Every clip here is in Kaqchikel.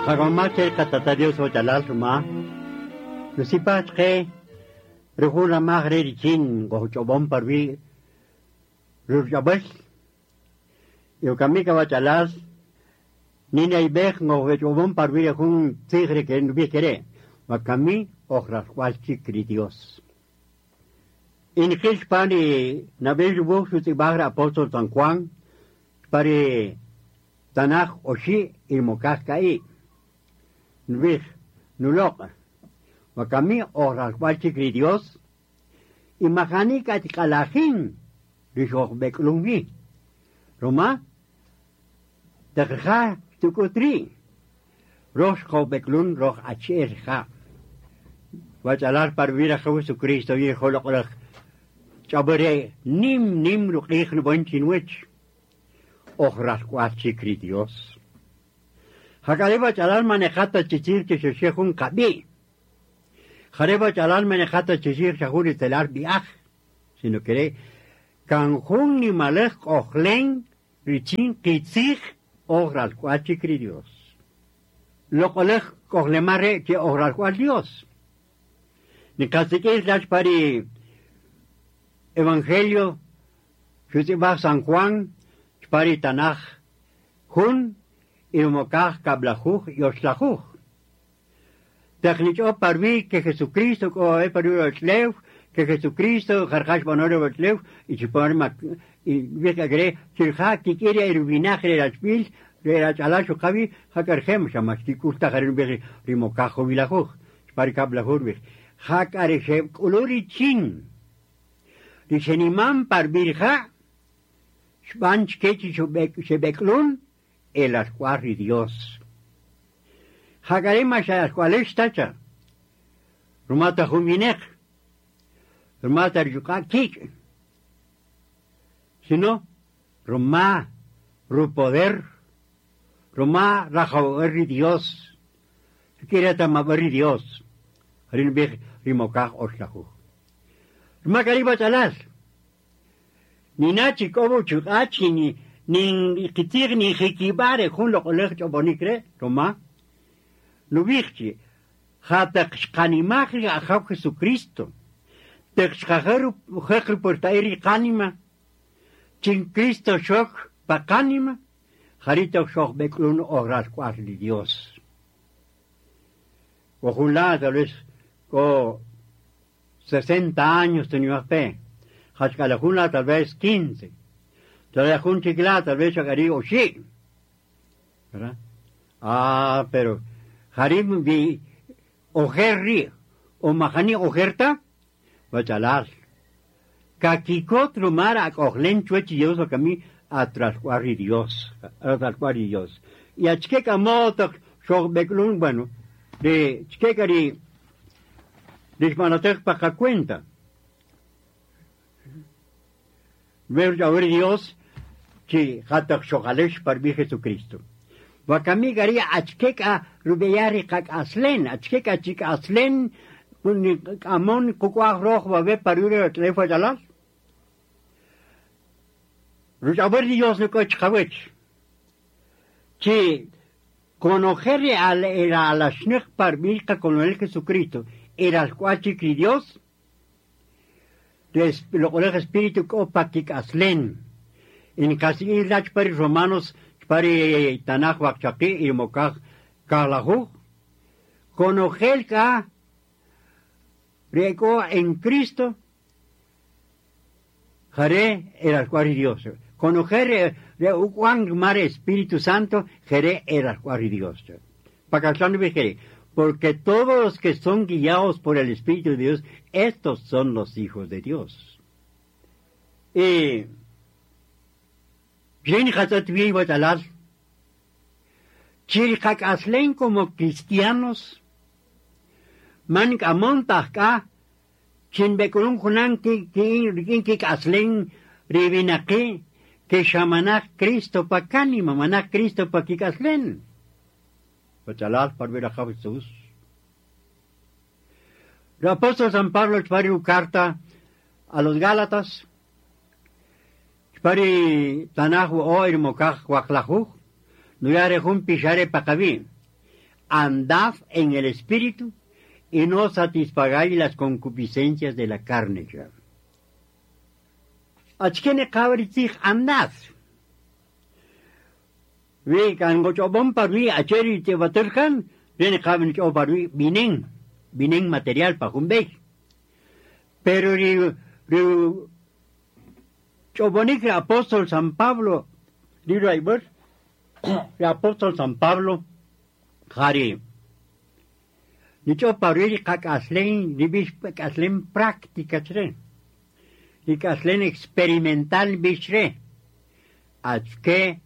Jagamache katata Dios ochalal ruma. Nusipach ke rujula magre richin gochobon parvi rurjabel. Yokamika bachalal nina ibej gochobon parvi jun tigre que no kere. Wakami ojrascualchi cri Dios. Inquil pani nabel yubu sutibagra apóstol San Juan pari tanaj oshi ilmokaj kai. Nubij nulok. Wakami ojrascualchi cri Dios. Imajani katikalajin rixojbeklungi. Roma teja tukutri. Roj jobeklun roj acherja. Wachalar parvira Jesucristo viejo lokolaj. Chabere nim nim ruqij nubon chinwech. Ojrascualchi cri Dios. Jacareba chalal manejata chichir que se un kabi. Jareba chalal manejata chichir shahuri telar biaj. Sino que canjun ni malej ojlen richin kitzij ojrascualchi cri Dios. Lokolej ojlemare que ojrascual Dios. Ni cacique las pari Evangelio, San Juan, pari Tanaj, Jun, Irmokaj, Kablajuj, Yoshlajuj. Technicho parvi que Jesucristo, o parvi Otleu, que Jesucristo, Jarjash Bonoro Otleu, y Chiporma, y vieja gre, Chirja, Kikiria, Irvinaje, Erachpil, Erachalacho Javi, Jacargem, Shamastikulta, Jarin Rimokajo Vilajuj, Pari Kablajuj, Jakareshe, Kuluri Chin. Rishenimam parvirja, Shbanch kechi shebeklun, el ascuarri Dios. Jacarema shascuales tacha. Rumata juminek. Rumata yuka kik. Sino, Roma, ru poder, Roma rajawerri Dios. Quiere tamaberri Dios. Rin big rimokaj oslajú. Roma kariba chalas. Ni nachi kobo chukachi ni ni kitir ni jikibare jun lo kolej chobonikre, Roma. Nubikchi, jatak xkanimajri ajaw Jesucristo. Texkajeru jekri portairi kanima. Chin Cristo shok pakanima. Jarito shok beklun ogras cuarli Dios. Ojulá, tal vez, con 60 años tenía fe. Hachkalajuna tal vez 15. Tal vez un chiquilá, tal vez chacarí o sí. ¿Verdad? Ah, pero Harim vi ojerri o majani ojerta, bachalar. Kakikot rumar a ojlen chuechi Dios o cami a trascuarri Dios, a trascuarri Dios. Y a chqueca moto, beklun, bueno, de chquecari, de pa cuenta. Ver a ver Dios, chi hatak shokalesh par mi Jesucristo. Wakami gari achkeka rubeyari kak aslen, achkeka chik aslen, amon kukwaj roj babe parure tlefa jalal. Ruchaber Dios no koch kawech. Chi conocer al era a la shnech par milka con el Jesucristo, era al cuachi Dios, lo el espíritu kopakik aslen. En casi ilach pari romanos pari tanaj wakchaki y mokaj kalahu. Conocer ka rieko en Cristo jare el cual Dios. Conocer Juan mar Espíritu Santo jere el cual Dios. Pakaslan porque todos los que son guiados por el Espíritu de Dios, estos son los hijos de Dios. Y Chirikakaslen como cristianos, man amontajka, chinbekulun junan ki ki kaslen rivinaki, que shamanak Cristo pa kanima, manak Cristo pa kikaslen. Bachalal par ver a Jesús. El apóstol San Pablo chpari carta a los Gálatas, chpari tanaj o irmokaj huaklajuj, nuyare jun pixare pakabi. Andad en el Espíritu y no satisfagáis las concupiscencias de la carne. Achkene kabritzij andad. Wi kan gochobon parui acheri tebaterkan, viene kabin parui binen, binen material pa jumbej. Pero ri ri chobonik apóstol San Pablo, ri raiber, ri apóstol San Pablo, jari. Nicho parui kakaslen, ribish kaslen práctica chre. Ri kaslen experimental bishre. Achke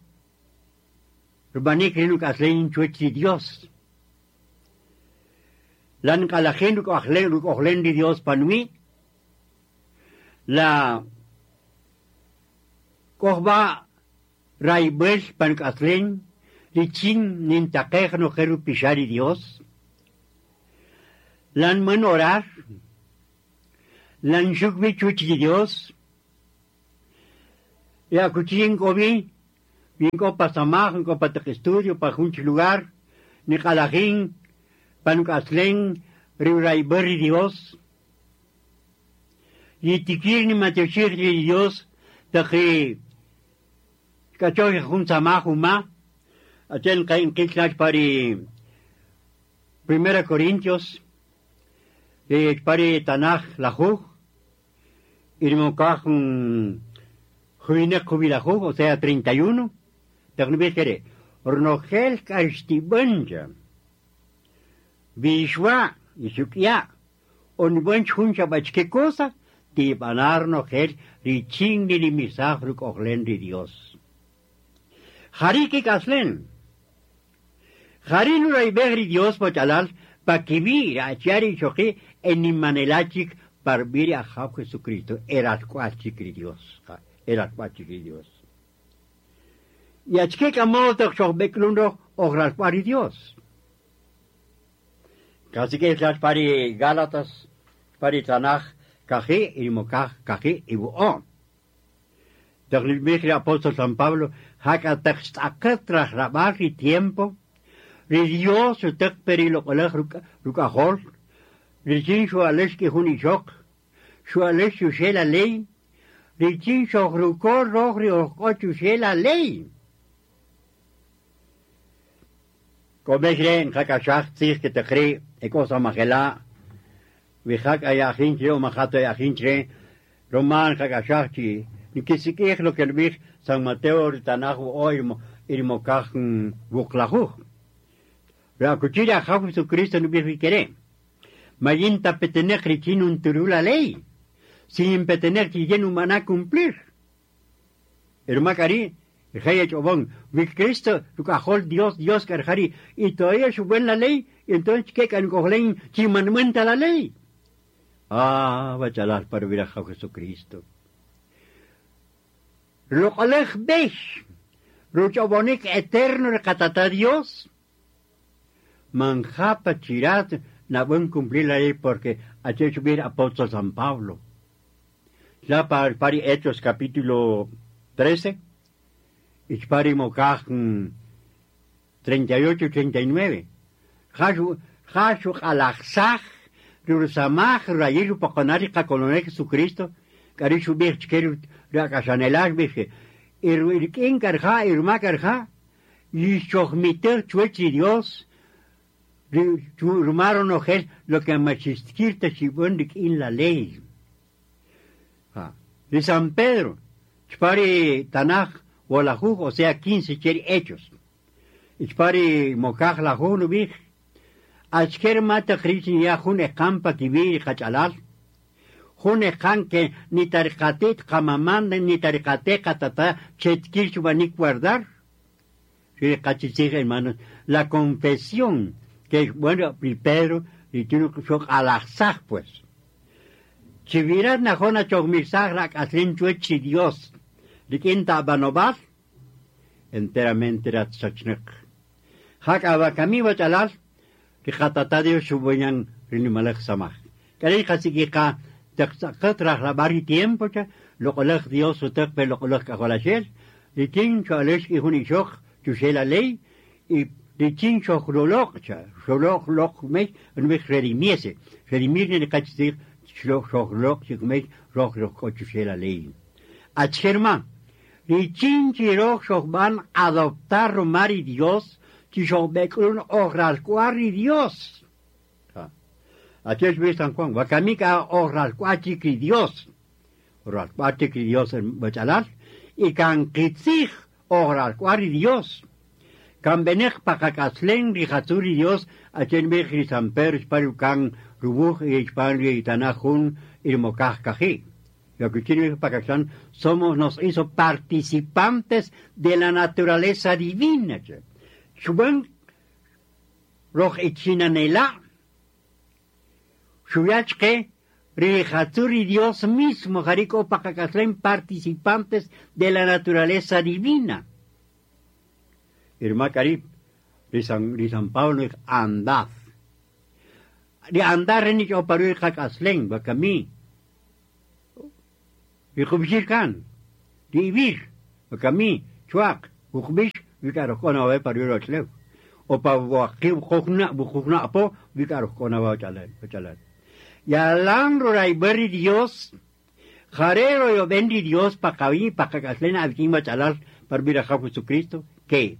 Rubanik rinuk aslen chuechi Dios. Lan kalajen ruk ajlen ruk ojlen di Dios panui. La kojba raibel pan aslen richin nintakej no jeru pishari Dios. Lan man orar. Lan shukbi chuchi Dios. Ya kuchin kobi. Vinko pa samaj, vinko pa estudio, pa junch lugar, ni kalajin, panuk aslen, riuraiberri Dios. Y tikir ni matioshir Dios, taji kachoy jun samaj uma, achen kain kitlach pari Primera Corintios, pari Tanaj lajuj, irmokaj juinek jubilajuj, o sea 31, Taqnibir Ornogel kashtibanja. Bishwa isukya. Onibunch juncha bachke cosa. Tibanar nogel richin ni ruk ojlen di Dios. Jariki kaslen. Jarin uraibegri Dios pochalal pa kibir achiari choki enimanelachik parbiri a Jesucristo. Era Dios. Era Dios. Y achke kamoto xojbeklundo ojralpari Dios. Casi que es pari Gálatas, pari Tanaj, kaji, irmokaj, kaji, ibuo. Taqlilmij apóstol San Pablo, haka taqxt'aqet rabaj tiempo, ri Dios utek periloqolej rukajol, richin xualex ki jun ixoq, xualex xuxe la ley, richin xojrukor roj ri ojk'o xuxe la ley. Komejre njakashaj tzij que te ekosa majela, wijak ayajinche o majato ayajinche, román jakashaj chi, nikisikij lo que el San Mateo ritanaj o irmokaj wuklajuj. Rakuchira jaw Jesucristo no vi quere. Mayinta petenej richin un turula ley. Sin petenej chi humana cumplir. Hermacari, el chobón, mi Cristo, cajol Dios, Dios carjari, y todavía sube la ley, y entonces ¿qué can cojlen chimanmenta la ley? Ah, bachalar para ver a Jesucristo. Lo besh, ruchobonik eterno recatata Dios. Manjapa chirat na buen cumplir la ley porque ha hecho bien apóstol San Pablo. Ya para pari Hechos capítulo 13, y mokaj 38 39. Jashu jashu alajsaj rursamaj rayir pokonari kakolone Jesucristo karishu bir chkeru rakashanelar bije irkin karja irma karja y chochmiter chuechi Dios rumaron ojel lo que machistkirta chibundik in la ley. De San Pedro, chpari Tanaj, Wolajuj, o sea, 15 cheri hechos. Chpari mokaj la nubij, achker mata krishin ya jun ekampa kibir kachalal. Jun ekan que ni tarikatit kamaman ni tarikate katata chetkir chubanik guardar. Sí, hermanos, la confesión que bueno, y Pedro, y tiene que alazaj pues. Chivirat najona chogmisaj rak aslin chuechi Dios. Rikinta banobal, enteramente rat sachnek. Hak abakami bachalal, rikatata Dios shubuñan rinimalek samaj. Kari kasikika taqsaqat rajlabari tiempo cha, loqolej Dios utek pe loqolej kajolashel, rikin chualesh ihun ishok, chuxe la ley, y Richin xojroloq cha, xoloq loq mech, nubij redimiese. Redimir ni kachtzij xojroloq chik mech, roj roj k'o la ley. Achkerma, richin chi roj xojb'an adoptar rumari Dios, chi xojb'ek'ulun oj Dios. Achel San Juan, wakamika oj ralk'ual chik Dios. Ralk'ual chik Dios en bachalal, y kan qitzij oj ralk'ual Dios. Kan benej pakak'aslen rijatzul Dios, achel bij ri San Pedro xpar kan rubuj y xpar ri tanaj jun irmokaj kaji. Lo que quiere decir somos, nos hizo participantes de la naturaleza divina. Xub'an roj ichinanela, xuyachke rijatzul Dios mismo, jariko pakak'aslen participantes de la naturaleza divina. Irma Karib, ri San Pablo andad. Ri andar ni oparu kak'aslen, wakami. Ri qub'ixil kan, ri ibir, wakami, chuaq, uqb'ix, wikarojk'ona wawe paru rochlew. O pa waqib qojna, buqujna apo, wikarojk'ona wa chalal. Yalan roraiberi Dios, jarero yo bendi Dios pa kawi, pa kak'aslen abikin chalal, par birajaw Jesucristo, que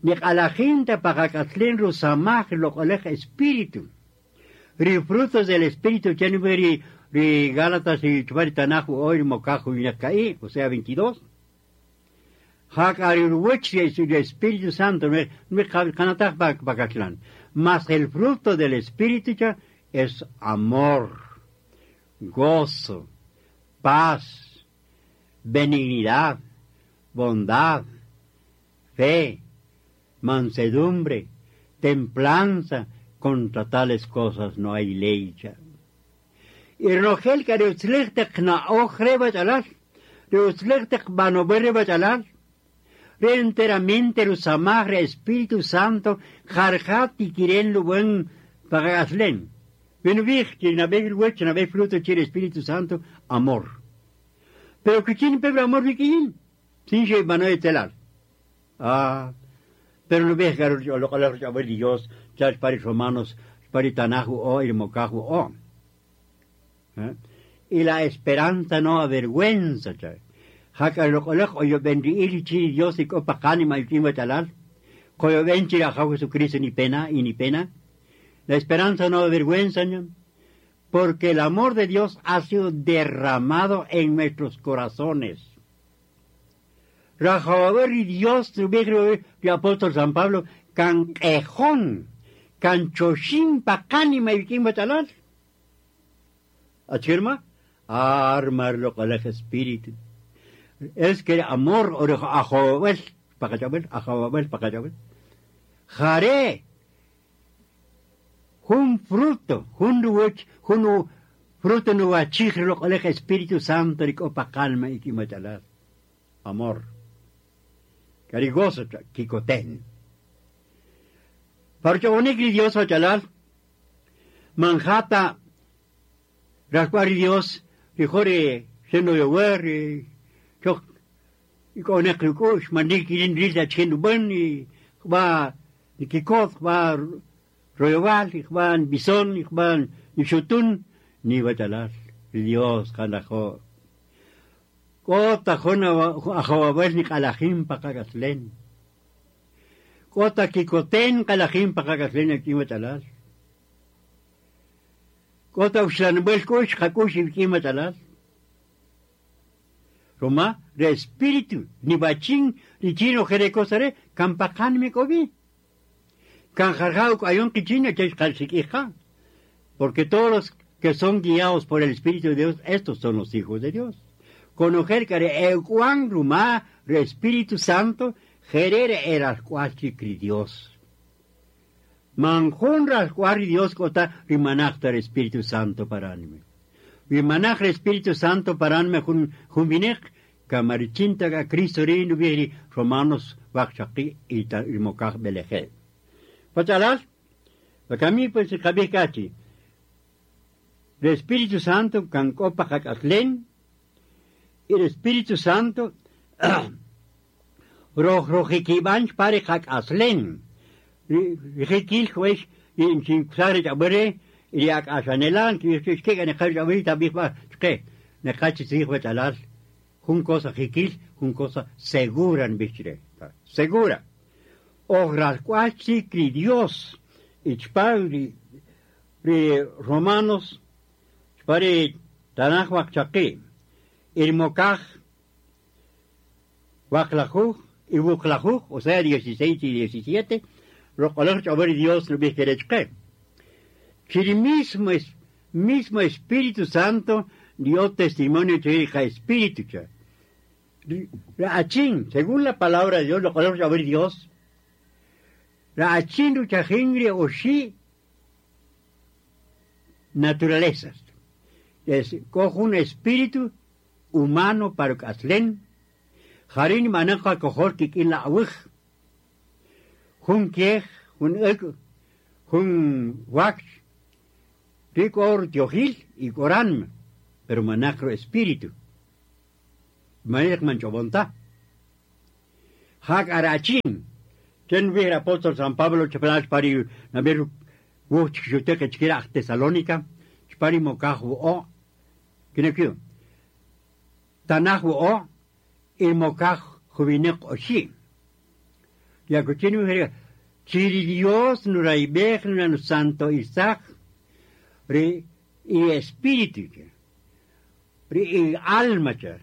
niq'alajinta pa kak'aslen rusamaj loq'olej espíritu. Ri frutos del espíritu, ri ri Gálatas y Chupari Tanaju hoy mokaju y o sea 22. Hakari el Espíritu Santo, Mas el fruto del Espíritu es amor, gozo, paz, benignidad, bondad, fe, mansedumbre, templanza. Contra tales cosas no hay ley. Y ronojel ka ri utzilej taq na'oj re bachalal, ri utzilej taq b'anob'al re bachalal, re enteramente rusamaj re Espíritu Santo jarja tikiren lub'an paqak'aslen. Benubij, chi nab'ej ruwach, nab'ej fruto chi Espíritu Santo, amor. Pero kichin pebre amor bikin, sin xe b'anoj etzelal. Ah, pero nubij loq'olej rich'ab'al Dios, chach pari Romanos, pari Tanaju o irmokaju o. ¿Eh? Y la esperanza no avergüenza. Jaka loq'olej oyobenri'il chi Dios y k'o paqanima y chalal. Koyoben chi rajaw Jesucristo ni pena y ni pena. La esperanza no avergüenza, porque el amor de Dios ha sido derramado en nuestros corazones. Rajawaber y Dios, el apóstol San Pablo, kan q'ejón, kan choxin paqanima y chalal. Achirma, armar loq'olej espíritu. Es que amor ajowel, paqachabel, ajowel, paqachabel. Jare, jun fruto, jun ruwach, jun fruto nuwachij loq'olej Espíritu Santo rik'o paqalma ikimachalal. Amor. Carigoso kikoten. Parchonik Dios ochalal, manjata rascuari Dios, rijore seno yower, chok ikonek rukush, manik irin rilda chenu bun, va nikikot, va royoval, va bison, va nixutun, ni bachalal, Dios kanajo. Kota jona ajowabel ni kalajim pakakaslen. Kota kikoten kalajim pakakaslen ikimachalal. Kota uxlanbel kush jakush ikimachalal. Roma, re espíritu, ni bachin, ni chino jerecosare, kampakan mi kobi. Kan jarjau ayon kichina che. Porque todos los que son guiados por el Espíritu de Dios, estos son los hijos de Dios. Conocer que euan ruma, re Espíritu Santo, jerere era Dios. Manjun rascuar Dios kota rimanachta el Espíritu Santo para anime. Rimanach el Espíritu Santo para anime jun jun kamarichinta ga Cristo rinu vieri Romanos waqchaqi y mokaj beleje. Pachalal, bakami pues kabih kachi. El Espíritu Santo kan kopa kakaslen, el Espíritu Santo roj rojikibanch pare kakaslen. Ri jikil wex y chin kusare chabere y ak'axanelan que que ne qar chabere tabij ba chke ne qachi tzij wechalal jun cosa jikil jun cosa segura en bichre segura. Ojralcuachi cri Dios y chpar ri Romanos chpari tanaj waqchaqi irmokaj waqlajuj y wuqlajuj, o sea 16 y 17 roqoloj chaber Dios no bijerechke que mismo mismo Espíritu Santo dio testimonio de Espíritu cha. Achín, según la palabra de Dios, lo color saber Dios, la achín ruchajingri o shi naturalezas. Es, cojo un espíritu humano para kaslen, jarin manaka kojor kikin la awij, jun kiej, jun ek, jun wax, rico tiojil y corán, pero manacro espíritu. Manek manchobonta. Hak arachin. Chen vi apóstol San Pablo chapelach pari naber wuch chuteke chkira Tesalónica, chpari mokaj o kinekio. Tanaj o il mokaj jubinek oshi. Ya kuchinu chiri Dios nuraibej nuranu santo Isaac ri y espíritu ri y alma cha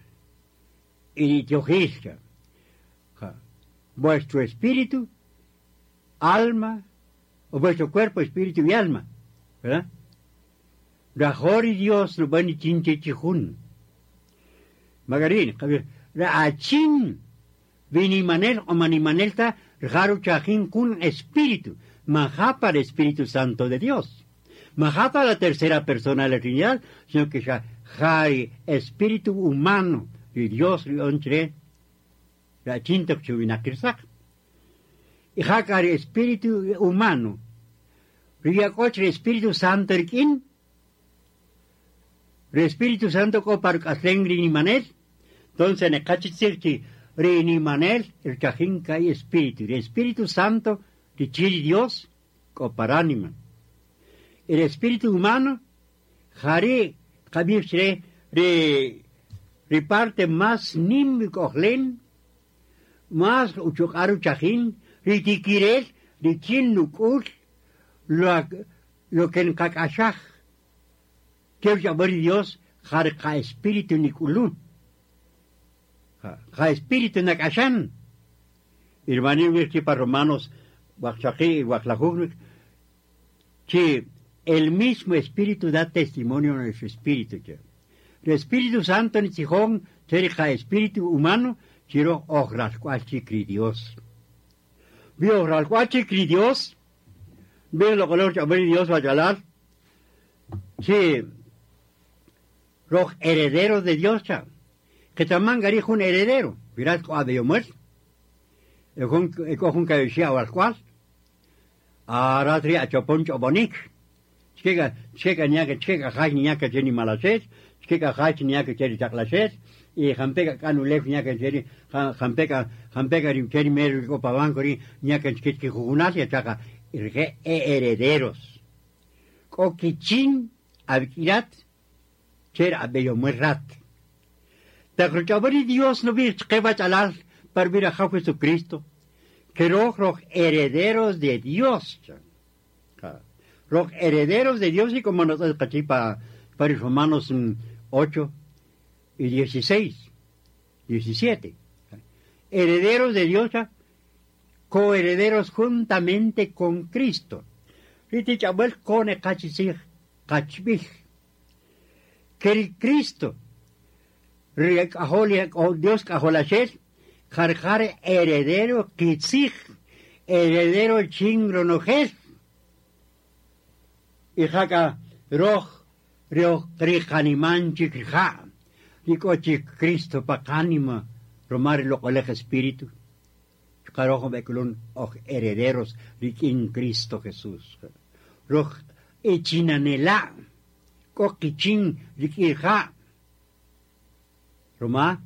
y teojischa. Vuestro espíritu, alma, o vuestro cuerpo, espíritu y alma, ¿verdad? Rajor y Dios no van chinche chijun. Magarín, achin vinimanel o manimanelta rjaru chajin kun espíritu, majapa el Espíritu Santo de Dios. Majapa la tercera persona de la Trinidad, sino que ya jari espíritu humano y Dios onchre la chinta chuvinakirsak. Y jakari espíritu humano. Riyakochre Espíritu Santo rikin. El Espíritu Santo ko par ni manel. Entonces ne kachitzirchi ri manel el chajin kai espíritu. El Espíritu Santo chiri Dios ko paránima. El espíritu humano jari kabir ri ri parte más nim kohlen más uchukaru chajin ri tikirel ri chin nukul lo que en kakashaj que Dios jar ka espíritu nikulun ja espíritu nakashan Irmani pa Romanos y que el mismo espíritu da testimonio a nuestro espíritu. El Espíritu Santo ni chijón, ja espíritu humano, chiro ojralcuachi Dios. Vi ojralcuachi Dios, ve lo color Dios va a hablar. Sí, los herederos de Dios, cha. Que también garijo un heredero. Mirad, de muerto. El que decía al cual. Aratri a chopon chobonik. Chega, chega ñaka, chega jaj ñaka cheni malachet, chega jaj ñaka cheni chaclachet, y jampeka kanulef ñaka cheni, jampeka, jampeka ri cheni mero copa banco ri ñaka chkichki jugunal ya chaca, irge herederos. Kokichin abkirat, cher abeyo muerrat. Tacruchabari Dios no vi chkeba chalal para vir a Jesucristo, que los herederos de Dios. Los herederos de Dios y como nosotros para Romanos 8 y 16, 17. Herederos de Dios, coherederos juntamente con Cristo. Que el Cristo, Dios cajolachel, jarjar heredero kitzij, heredero chingronojel. Y jaca roj, roj, ricaniman chikrija, ricochi Cristo pacanima, romar lo colegio espíritu. Carojo beculun oj herederos riquin Cristo Jesús. Roj echinanela, coquichin riquija. Roma,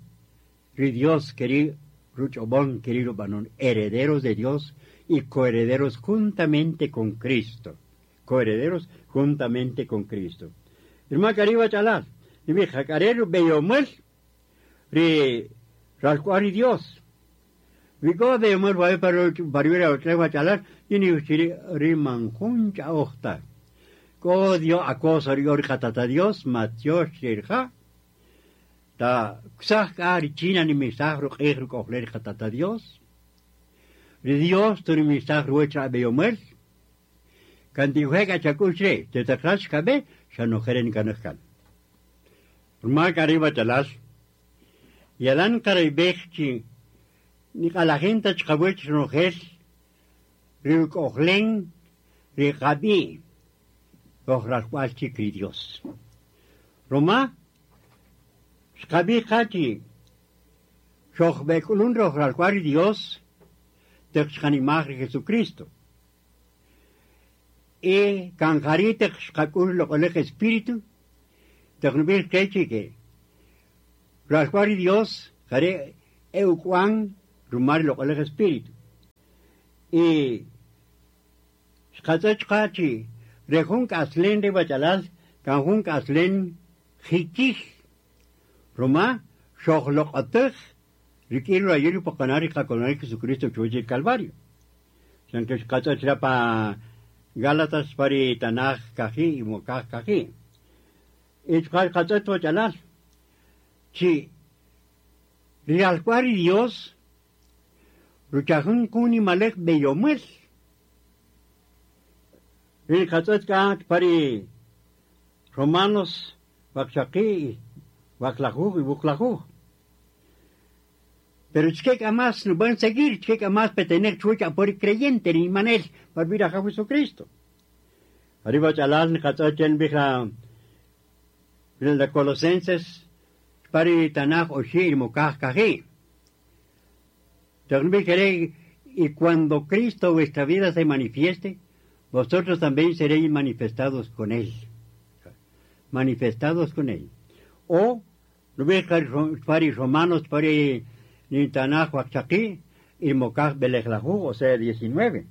ri Dios querido, ruchobón querido banon, herederos de Dios y coherederos juntamente con Cristo. Coherederos juntamente con Cristo. Irma kariba chalal, ni jacarero beyomel, ri ralcuari Dios. Vigo beyomel va para para chalar, y ni ri manjuncha ojta. Ko Dios acosa ri tata Dios, Mateo shirja. Ta ksaj ka ri china ni misaj ru q'ij ru k'ojler tata Dios. Ri Dios tu ri misaj ruecha beyomel. Kantijuega chakushre, te takrash kabe, xanojeren kanajkan. Rma kariba chalas. Yalan karaibej chi ni qalajinta chqawech nojel ri k'ojlen ri qabi ojralcual chi kri Dios. Roma xqabi qachi xojbek'ulun rojralcual Dios teq xqanimaj ri Jesucristo. E kanjari teq xqak'ul loq'olej Espíritu teq nub'ij qechi ke ralcual Dios jare eukuan rumar loq'olej Espíritu. Y xqatz'ach qachi rejun k'aslen ri bachalal kan jun k'aslen jikij roma xojloq'atej rik'in rayil poqonari qakonari Jesucristo chuwach el Calvario. Sanke xqatz'ach pa Gálatas pari Tanaj kaji y Mokaj kaji. Y xqatz'ach bachalal chi rialcuari Dios ruchajun kuni malek beyomel. Ri qatz'ach ka pari Romanos waqchaqi waqlajuj y buqlajuj. Pero chkek amas no van a seguir, chkek amas petener chucha por creyente ni manel para vir a Jesucristo. Arriba chalal ni qatz'achen bija de Colosenses pari Tanaj oshi y mokaj kaji. Y cuando Cristo vuestra vida se manifieste, vosotros también seréis manifestados con Él. Manifestados con Él. O, pari Romanos, pari Tanaj Waqchaqi, y Mokaj Belejlahu, o sea, 19.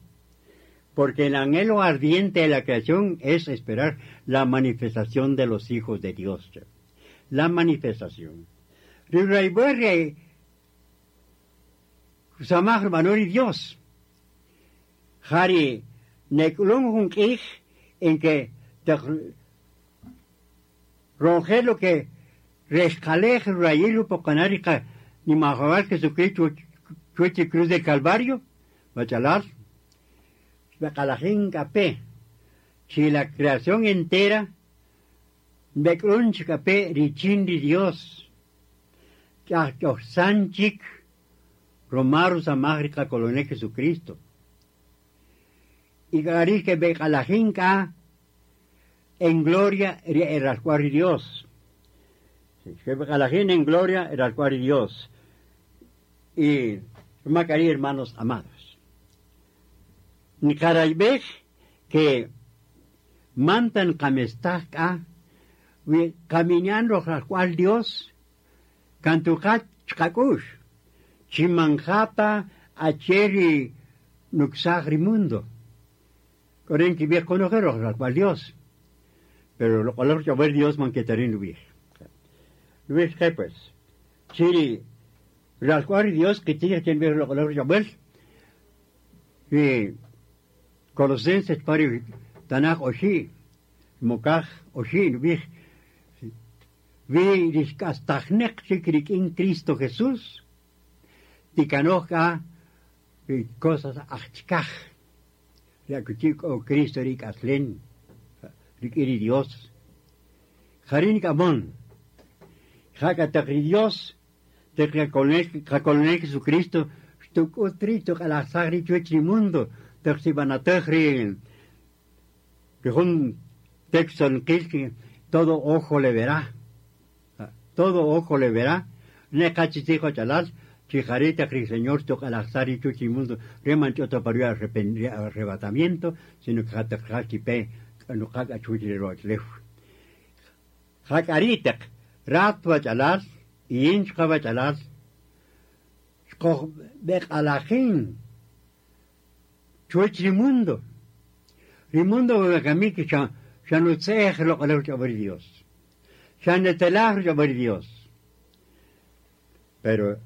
Porque el anhelo ardiente de la creación es esperar la manifestación de los hijos de Dios. La manifestación. Samaj Manori Dios. Jari neklun jun en que roje lo que rescalej rayilu pocanarica ni majabal Jesucristo chueche cruz del Calvario, bachalar, Bacalajin capé, si la creación entera, bekrun capé richin di Dios, sanchik, Romaru samajrica coloné Jesucristo. Y que becalajinca en gloria el Dios. Que becalajín en gloria el Dios. Y Macarí, hermanos amados. Nikaraibej que mantan kamestaj caminan cual Dios kantukat chkakush chimanjata acheri nuxagri mundo. Koren que viejo conocer cual Dios. Pero lo color que ver Dios manquetarín lo. Lo que pues. Chiri cual Dios que tiene que ver lo color ver. Y Colosenses pari Tanaj oshi, Mokaj oshi, vi vi riskastajnek in Cristo Jesús, tikanoja cosas achkaj, riakuchik o Cristo rik aslen, rik iri Dios. Jarin kamon, jaka Dios, te colonel Jesucristo, stuk utri tuk alasagri chuech mundo, te un texto en que todo ojo le verá. Todo ojo le verá. Ne kachitijo chalal, chijarita señor toca al chuchi mundo, reman choto para arrebatamiento, sino que jata pe no kaka chuchi roch lef. Jakaritak, ratwa chalal, y inchka chalal, shkoch bek alajin, Chuwäch ri mundo. Ri mundo wakami xa xa nutze'ej loq'oläj ruch'ab'äl ri Dios. Xa netzelaj ruch'ab'äl ri Dios. Pero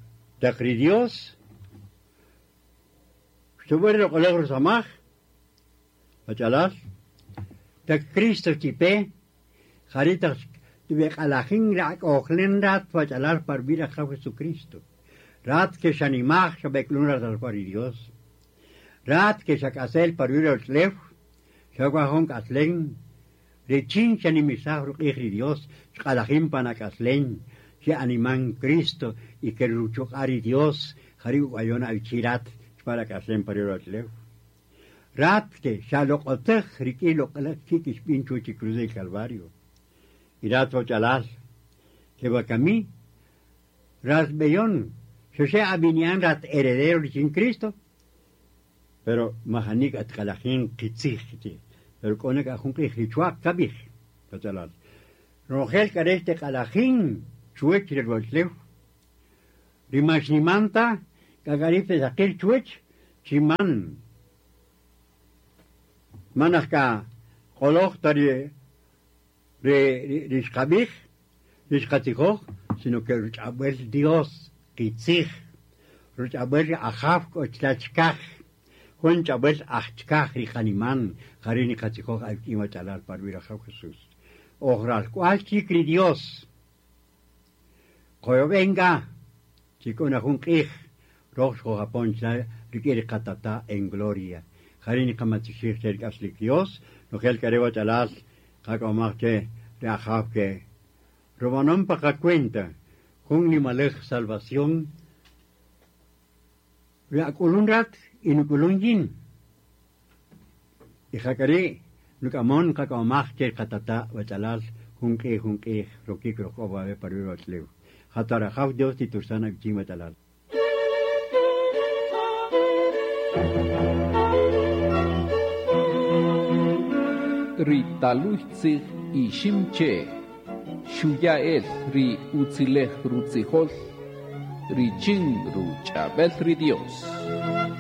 taq ri Dios xtub'än ri loq'oläj rusamaj, wach'alal, taq Cristo xtipe, jari' taq xtib'eq'alajin ri ak'ojlen rat wach'alal pa rub'i' ri Ajaw Jesucristo. Rat ke xanimaj xab'ek'ulun rat alk'wal ri Dios. Rat ke xak'asel pa ruwi' ri ruwach'ulew, xak'waj jun k'aslem richin xanimisaj ruq'ij ri Dios, xq'alajin pan ak'aslem, xe'animan Cristo y ke ri ruchuq'a' ri Dios jari' uk'wayon awichi rat chupan ri ak'aslem pa ruwi' ruwach'ulew. Rat ke xaloq'otäj rik'in loq'oläj kik' xb'in chuwäch ri cruz del Calvario. Y rat wach'alal, ke wakami rat b'eyon, xa xe ab'ini'an rat heredero richin Cristo, pero majani k'a tiq'alajin qitzij chi, pero k'o na k'a jun q'ij ri chwa'q kab'ij, wach'alal. Ronojel k'a re' xtiq'alajin chuwäch ri ruwach'ulew, ri man xniman ta, k'a k'a ri' pesaqir chuwäch chi man man aj k'a q'oloj ta ri ri ri xqab'ij, ri xqatzijoj, sino que ruch'ab'äl Dios qitzij, ruch'ab'äl ri Ajaw k'o chila' chikaj, jun ch'ab'äl aj chikaj ri qaniman, jari' niqatzijoj awik'in wach'alal pa ruwi' ri Ajaw Jesús. Oj ralk'wal chik ri Dios. Qoyob'en k'a chi k'o na jun q'ij roj xqojapon chila' rik'in ri qatata' en gloria. Jari' niqamatzixij che ri k'aslik Dios, nojel k'a re' wach'alal qak'omaj che ri Ajaw ke rub'anon pa qacuenta jun nimalej salvación ri ak'ulun rat y nuk'ulun yin. Y ja k'a ri' nuk'amon qak'omaj che ri qatata' wach'alal jun q'ij jun q'ij rokik rojk'o wawe' pa ruwi' ruwach'ulew. Ja ta rajaw Dios titursan awichin wach'alal. Ri taluy tzij Iximche' xuya' el ri utzilej rutzijol richin ruch'ab'el ri Dios.